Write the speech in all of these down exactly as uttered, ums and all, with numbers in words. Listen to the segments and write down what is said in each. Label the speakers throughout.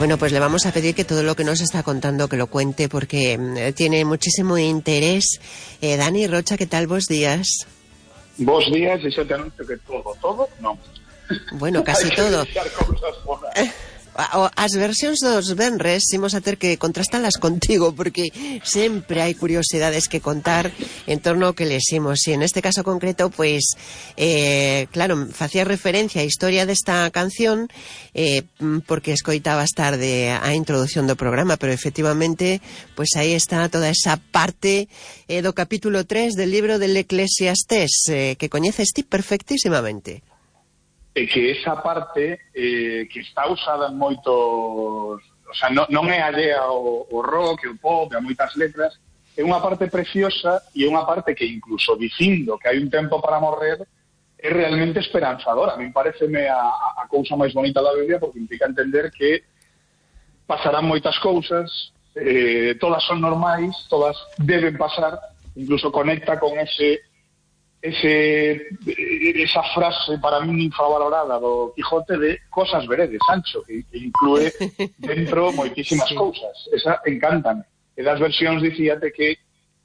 Speaker 1: Bueno, pues le vamos a pedir que todo lo que nos está contando que lo cuente porque eh, tiene muchísimo interés. Eh, Dani Rocha, ¿qué tal? Vos días.
Speaker 2: Vos días, e xa te anuncio que todo, todo, non.
Speaker 1: Bueno, casi todo. As versións dos venres imos a ter que contrastalas contigo porque sempre hai curiosidades que contar en torno ao que leximos e en este caso concreto, pois eh, claro, facía referencia á historia desta canción eh, porque escoitabas tarde a introducción do programa, pero efectivamente pois aí está toda esa parte eh, do capítulo tres del libro del Eclesiastés eh, que coñeces ti perfectísimamente.
Speaker 2: E que esa parte eh, que está usada en moitos, o sea, non, non é allea ao, ao rock, ao pop, a moitas letras, é unha parte preciosa e é unha parte que incluso dicindo que hai un tempo para morrer é realmente esperanzadora. A mí pareceme a, a cousa máis bonita da Biblia porque implica entender que pasarán moitas cousas, eh, todas son normais, todas deben pasar, incluso conecta con ese ese esa frase para mí infravalorada do Quijote de cosas veredes, Sancho, que, que inclúe dentro moitísimas sí. cousas. Esa encantan. E das versións dicíate que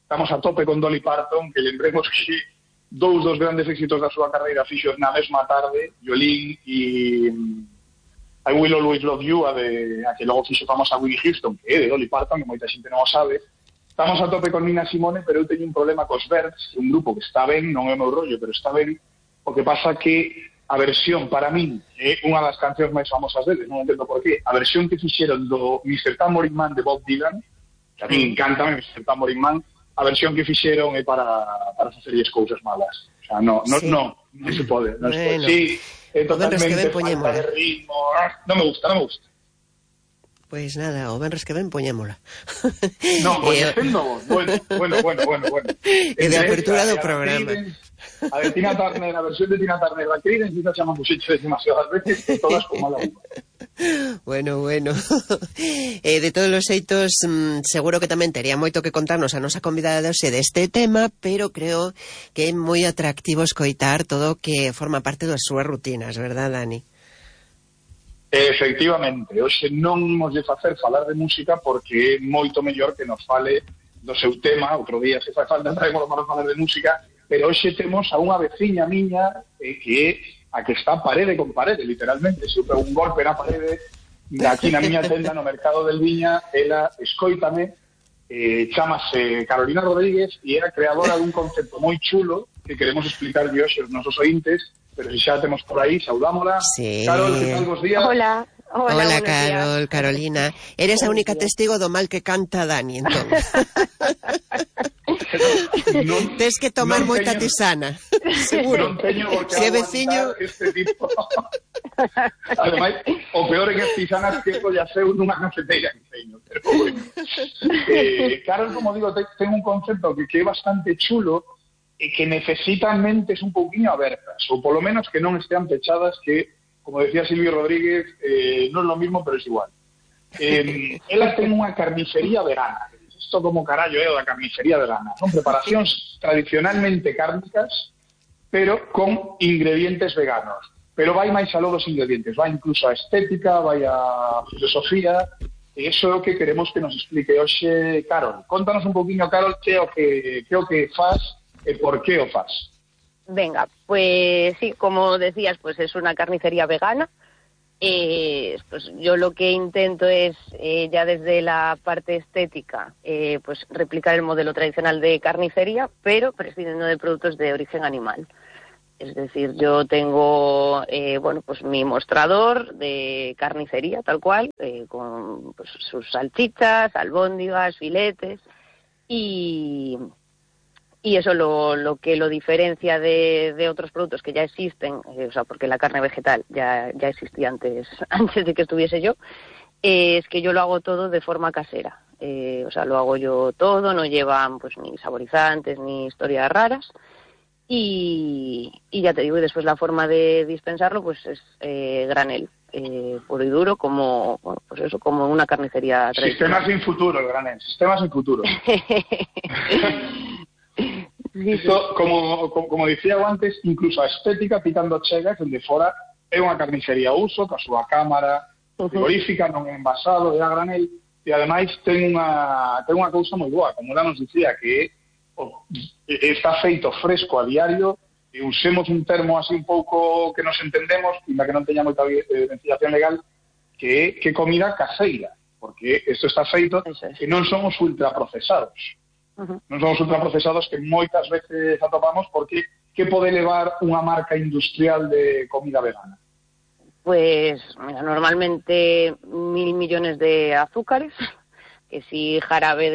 Speaker 2: estamos a tope con Dolly Parton, que lembremos que dous dos grandes éxitos da súa carreira fixos na mesma tarde, Violín e I Will Always Love You, a, de, a que logo fixo famosa Whitney Houston, que é de Dolly Parton, que moita xente non o sabe. Estamos a tope con Nina Simone, pero eu teño un problema cos Birds, un grupo que está ben, non é o meu rollo, pero está ben. O que pasa que a versión, para min, é unha das cancións máis famosas deles, non entendo por qué. A versión que fixeron do mister Tambourine Man de Bob Dylan, que a mí encanta mister Tambourine Man, a versión que fixeron é para, para facerlles cousas malas. O sea, no, no, sí. no, non se pode. Non se pode. Sí, é totalmente falta de ritmo. Non me gusta, non me gusta.
Speaker 1: Pois nada, o venres que ven poñémola.
Speaker 2: Non, coñecendo vos. Bueno, bueno, bueno, bueno, bueno.
Speaker 1: E de apertura do programa.
Speaker 2: A de Tina Turner, a versión de Tina Turner, la Creedence, quizás se llaman muxiches demasiadas veces, e todas como la uva.
Speaker 1: Bueno, bueno. eh, de todos os xeitos, mmm, seguro que tamén tería moito que contarnos a nosa convidada de hoxe deste tema, pero creo que é moi atractivo escoitar todo o que forma parte das súas rutinas, verdad, Dani?
Speaker 2: Efectivamente, hoxe non imos de facer falar de música porque é moito mellor que nos fale do seu tema. Outro día se fai falta traemos para falar de música, pero hoxe temos a unha veciña miña eh, que é a que está parede con parede, literalmente. Se eu pego un golpe na parede aquí na miña tenda no Mercado del Viña, ela escóitame, eh, chamase Carolina Rodríguez e era creadora dun concepto moi chulo que queremos explicar hoxe aos nosos ointes. Pero si xa temos por aí, saudámola.
Speaker 1: Sí.
Speaker 2: Carol, que tal, bos días?
Speaker 3: Hola. Hola,
Speaker 1: Hola Carol,
Speaker 3: días.
Speaker 1: Carolina. Eres a única testigo do mal que canta Dani, entón. non, Tes que tomar non moita teño, tisana. Seguro.
Speaker 2: Non teño por
Speaker 1: que se veciño
Speaker 2: este tipo. Ademais, o peor en as tisanas que esto ya seu nunha cafeteira que teño. Pero bueno. Eh, Carol, como digo, ten un concepto que, que é bastante chulo e que necesitan mentes un pouquinho abertas, ou polo menos que non estean pechadas, que, como decía Silvio Rodríguez, eh, non é lo mismo, pero es igual. Eh, elas ten unha carnicería vegana. Isto como carallo é o da carnicería vegana. Son preparacións tradicionalmente cárnicas, pero con ingredientes veganos. Pero vai máis aló dos ingredientes, vai incluso a estética, vai a filosofía, e iso é o que queremos que nos explique hoxe Carol. Contanos un pouquinho, Carol, que é o que, que, é o que faz e por qué o faz.
Speaker 3: Venga, pues sí, como decías, pues es una carnicería vegana. Eh, pues yo lo que intento es, eh, ya desde la parte estética, eh, pues replicar el modelo tradicional de carnicería, pero prescindiendo de productos de origen animal. Es decir, yo tengo, eh, bueno, pues mi mostrador de carnicería, tal cual, eh, con pues, sus salchichas, albóndigas, filetes, y... Y eso lo, lo que lo diferencia de, de otros productos que ya existen, eh, o sea, porque la carne vegetal ya, ya existía antes, antes de que estuviese yo, eh, es que yo lo hago todo de forma casera. Eh, o sea, lo hago yo todo, no llevan pues ni saborizantes ni historias raras. Y, y ya te digo, y después la forma de dispensarlo pues es eh, granel, eh, puro y duro, como bueno, pues eso, como una carnicería tradicional.
Speaker 2: Sistema sin futuro, el granel, sistema sin futuro. Isto, como, como, como dicía antes, incluso a estética pitando chegas, onde fora é unha carnicería uso, ca súa cámara, frigorífica, non é envasado, é a granel, e ademais ten unha, ten unha cousa moi boa, como ela nos dicía, que o, está feito fresco a diario, e usemos un termo así un pouco que nos entendemos, e que non teña moita ventilación legal, que é que comida caseira, porque isto está feito e non son os ultraprocesados. Uh-huh. Non son os ultraprocesados que moitas veces atopamos, porque que pode levar unha marca industrial de comida vegana?
Speaker 3: Pues mira, normalmente mil millones de azúcares, que si jarabe